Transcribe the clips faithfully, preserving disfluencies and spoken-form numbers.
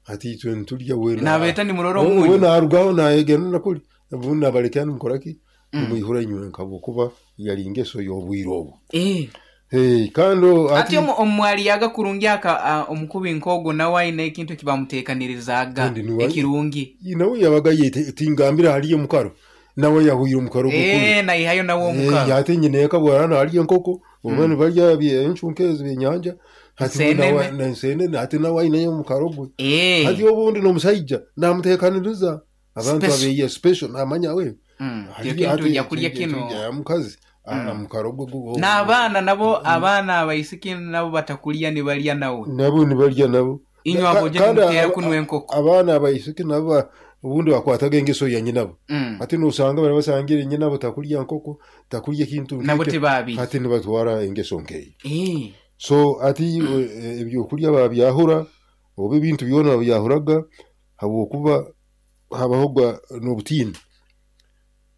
Hati itwe nitulya we na- Nabeeta nimurora we omunyu. narugaho nayegenda nakuli obundi nabalekera nimukoraki, nimwihura inywe nkabwokuba yali ngeso y'obwire obwo. Eh. Hey, kandi o- Ati omu- omwaliyaga kurungi aka a, omukubi nk'ogwo nawe ayine ekintu ekibamuteekanirizaaga Kandi niwe- ekirungi. Nawe yabaga yete tingambira haliyo omukaro, nawe yahwire omukaro gukuru. Eh, nayihayo nawe omukaro. Ate nyina eka bwarana haliyo enkoko oba nibarya bye- encu nk'ezi byenyanja, hati we Nsenene. nawe- na nsenene, hati nawe aineyo omukaro gwe. Eh. Hati obundi n'omusaija namuteekaniriza abantu Special. abeye special, namanya we Mm, hali- ekintu hati- ojja kulya kino. ya mukazi ah, omukaro gwe gu- N'abaana nabo, abaana abaisiki nabo batakulya nibalya nawe. Nabo nibarya nabo. Inywe Ka- abo je kandi nimuteera aba- kunwa enkoko. Abaana abaisiki nabo ba- obundi bakwataga engeso ya nyinabo. Mm. Ati nosanga bari basangire nyinabo takulya nkoko, takulya ekintu Nabo nk'ekyo. tibabirya. Ati nibatwara engeso nkeyo. Eh. So ati eh, ebyokulya babyahura oba ebintu byona babyahuraga habwokuba habahoga n'obutiini.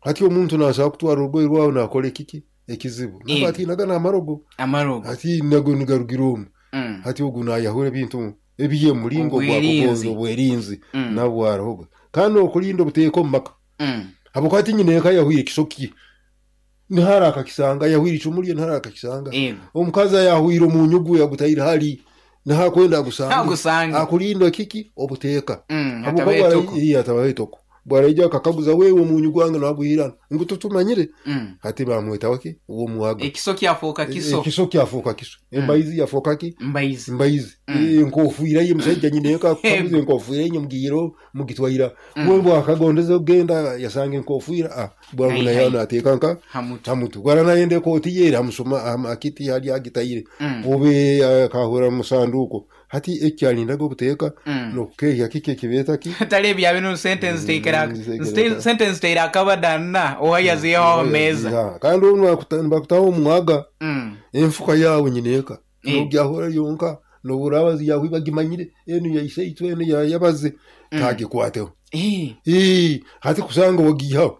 Hati omuntu nasobola kutwara orugoye rwawe nakora ekiki ekizibu. Eh. Nabo atiinaga n'amarogo. Amarogo. Hati nago nigarugira omu. Mm. Hati ogu nayahura ebintu ebiye mulingo Obwerinzi. gwakugonza obwerinzi. Mm. Nabwo harihoga kandi okulinda obuteeka omu maka. Mm. Habwokuba ati nyina eka yahwire ekisoki nihara akakisanga, yahwire icumu rye nihara akakisanga. Ego. Omukazi ayahwire omunyu gwe yagutaire hali nihakwenda agusange. Agusange. Akulinda kiki obuteeka. Mm, Habwokuba hatabaho bwara- etoko. iya, hatabaho etoko, bwaraija akakaguza, wewe omunyu gwange nagwihirana ngu tutumanyire. Mm. Hati bamwetaho ki ow'omuwaga. Ekiso kyafuuka kiso. Ekiso kyafuuka kiso, embaizi yafuuka ki? Mbaizi. Mbaizi. Enkofiira ye musajja nyina eka akaguza enkofiira ye mugiiro mugitwaira we bwakagondeza okugenda yasanga enkofiira, ah, bwangu. Hai, Naye hai. nateeka nka Hamutu. hamutu gwara nayenda ekooti ye hamusoma akiti hali agitaire Mm. obe akahura musanduuko. Hati ekyalindaga obuteeka Mm. nokukehya kiki ekibeeta ki. Tali ebya bino sentence teikera. Mm, ziteekera- Sentence teira akabadana owayaziyeho meeza. Ya, kandi obu nibakuta- nibakutaho omwaga Mm. enfuka yawe nyina eka Eh. nogyahura yonka noburaba yahwe bagimanyire enu yaise itwe enu yayabaze tagikwateho. Eh. Ii, hati kusanga wagihaho.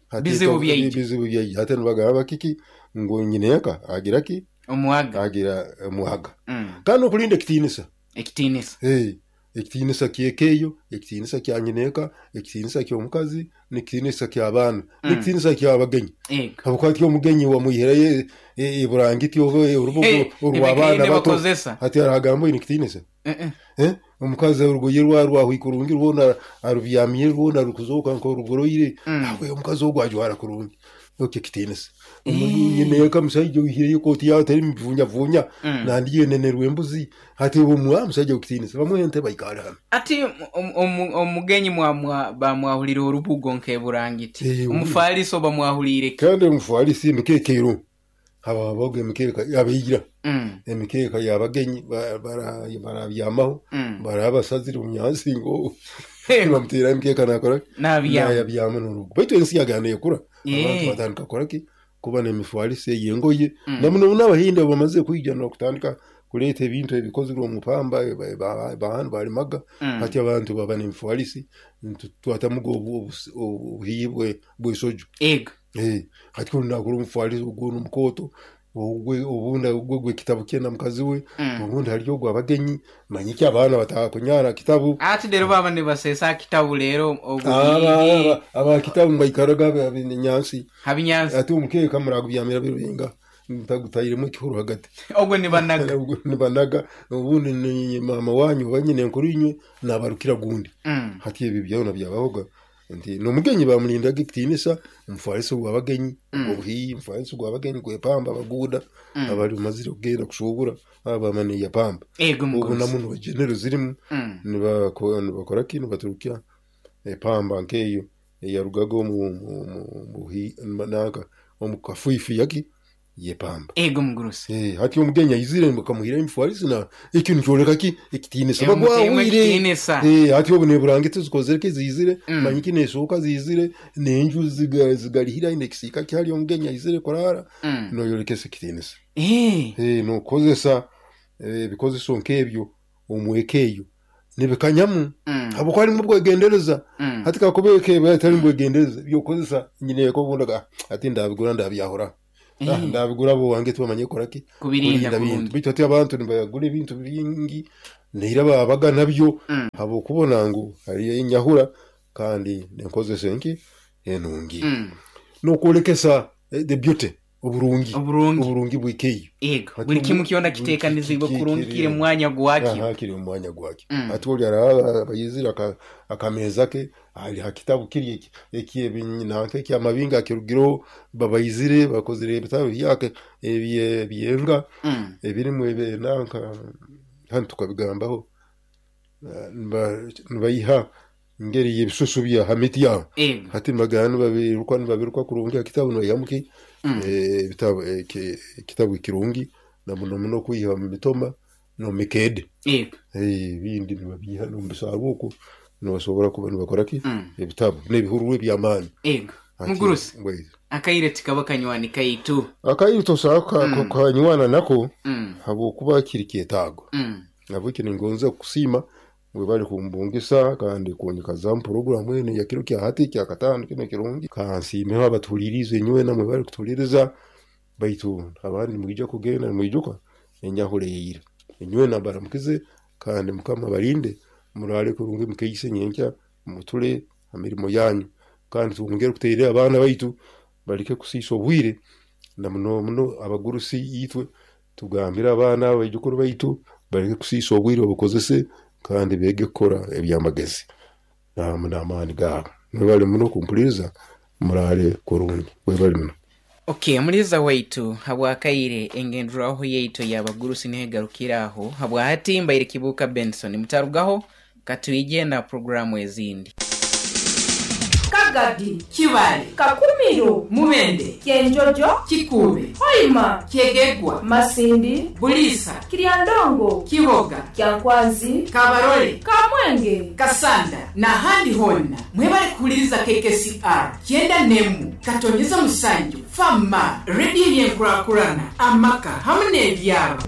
Hati Bizibu ito- byaija. Bizibu byaija. Hati nibagamba kiki ngu nyina eka agira ki? Omuwaga. Agira omuhaga. Mm. Kandi okulinda ekitiinisa. Ekitiinisa. Hey, ekitiinisa kyekeeyo, ekitiinisa kya nyina eka, ekitiinisa ky'omukazi, n'ekitiinisa ky'abaana, n'ekitiinisa ky'abagenyi. Ego. Habwokuba ati omugenyi wamwihirayo eburangiti oba orubugo Eh, orw'abaana ebikaine bato. bakozesa. Hati aragamba oine ekitiinisa. Eh, eh. Eh? Omukazi orugoye rwa rwahwi kurungi rwona arubyamiire rwona rukuzooka nk'orugoroire. Mm. Awe omukazi ogwo ajwara kurungi okyo ekitiinisa. Nyina eka musaija oihireyo ekooti yawe teri muvunyavunya Mm. nandi yenenerwa embuzi, hati omuwa musajja w'ekitiinisa bamuha entebe aikale hano. Ati om- omu- omugenyi mwamwa bamwahulire orubugo nk'eburangiti. Eh, Omufaliso bamwahulire ki? Kandi omufalisi emikeeka ero hababaga emikeeka abaira. Mm. Emikeeka y'abagenyi ba- bara- barabyamaho. Mm. Baraba basazire omunyansi ngo Ego. bamutera emikeeka nakora Nabyama. nayabyama n'orugo, baitu ensi yagenda ekura, Eh. abantu batandika kukora ki kuba n'emifalisi ey'engoye. Mm. Namuno n'abahindi bamaze kwija n'okutandika kuleeta ebintu ebikozirwe omu pamba bahantu balimaga. Mm. Hati abantu baba n'emifalisi twatamuga obuhiyi bw'esojo. Ego. Eh, hati kunu nakora omufalisi ogwo n'omukooto ogwe, obundi ogwe gw'ekitabu kye na mukazi we. Mm. Obundi hariyo ogw'abagenyi manyiki abaana batakunyara kitabu. Ati rero baba nibasesa kitabu rero Aba- obuhihi. aba- aba kitabu nibaikaraga nyansi. Habinyansi. Ati omukeeka muragubyamira birubenga ntagutairemu ekihuru hagati. Ogwo nibanaga. Ogwo nibanaga, obundi ni mama wanyu oba nyina enkuru inywe nabarukira gundi. Mm. Hati ebyo byona byabahoga nti n'omugenyi bamulindaga ekitiinisa, omufalisi gw'abagenyi obuhiyi, omufalisi gw'abagenyi gwepamba abaguuda abali bamazire kugenda kushubura aba bamaniye pamba. Ego Obu mugurusi. namuno bagenero zirimu Mm. nibako- nibakora ki nibaturukya epamba nkeyo eyarugaga omu mu- mu- muhi- nanka omu kafifi yaki yepamba. Ego mugurusi. Eh, hati omugenyi aizire bakamuhira emifalisi na ekyo nikyoleka ki ekitiinisa. Eh, muteemu bagwahwire. ekitiinisa. Eh, hati obu neburangiti zikozere ki zizire Mm. manyiki neshuka zizire nenju ziga- zigarihira nekisiika kihali omugenyi aizire kurara. Mm. Noyolekesa ekitiinisa. Eh. Eh, nokozesa eh, ebikozeso nk'ebyo omweka eyo nibikanyamu Mm. habwokuba harimu obwegendereza. Mm. Hati kakuba eka eba etarimu bwegendereza byokukozesa nyina eka obundi aga, ati ndabigura ndabyahura. Ah, ndabigura abo wange tubamanye koraki Kubirinda bintu kurungi. baitu ati abantu nibagura ebintu bingi neira babaga nabyo Mm. habwokubona ngu hariyo enyahura kandi nenkozesa enki enungi Mm. nokwolekesa eh, the beauty oburungi Oburungi. oburungi bwikeyo Ego. Ati Buli omu- kimu kyona buli kiteekanizibwe ki- ki- kurungi kiri- kiri mu mwanya gwakyo. Aha, kiri mu mwanya gwakyo Mm. ati oli araba abayizire aka- akameza ke ali ha kitabu kiri eki- ekyebinanka ekyamabinga akirugireho babayizire bakozire ebitabo byake ebye- ebyenga Mm. ebirimu ebinanka hanu tukabigambaho Eh, niba- nibayiha ngeri y'ebisusu bya ha miti yaho Ego. hati nibagana nibabiruka nibabiruka kurungi ha kitabu nibayihamu ki Mm. eh, ebitabo eki- ekitabu ekirungi na muno muno kwiha mu mitoma n'omu mikede Ego. Eh, ebindi nibabiiha n'omu bisaaru okwo nibasobora kuba nibakora ki Mm. ebitabu n'ebihururu eby'amaani Ego. Hati- Mugurusi. wait. Akaire tikaba kanywani kaitu. Akaire tosobola ka- Mm. kanywana nako Mm. habwokuba kiri kyetaago Mm. nabweki ningonza kusiima mwebale kumbungisa kandi kunyikaza mu puroguramu enu ya kiro kya hati kya kataano kino kirungi kansiimeho abatuhuliriize nywena mwebale kutuhuliriza baitu abandi nimwija kugenda nimwijuka enyahuura eyeire enywena mbaramukize kandi mukama abarinde muraale kurungi mukeise nyenkya mutule ha mirimo yanyu kandi twongere kuteerera abaana baitu baleke kusiisa obwire na muno muno abagurusi itwe tugambire abaana abaijukuru baitu baleke kusiisa obwire babukozese kandi beege kukora ebyamagezi namu n'amaani gaabo mwebale muno kumpuliriza muraale kurungi webale muno. Okay, muliza waitu habwakaire engenderaho yaitu yabagurusi negarukira aho habwahati mbaire Kibuuka Benson mutarugaho katwije na programu ezindi. Kagadi, Kibale, Kakumiro, Mubende, Kyenjojo, Kikuube, Hoima, Kyegegwa, Masindi, Buliisa, Kiryandongo, Kiboga, Kyankwanzi, Kabarole, Kamwenge, Kasanda n'ahandi honna mwebale kuhuliriza K K C R kyenda nemu katonyeza musanju fama rediyo y'enkurakurana amaka hamwe n'ebyaro.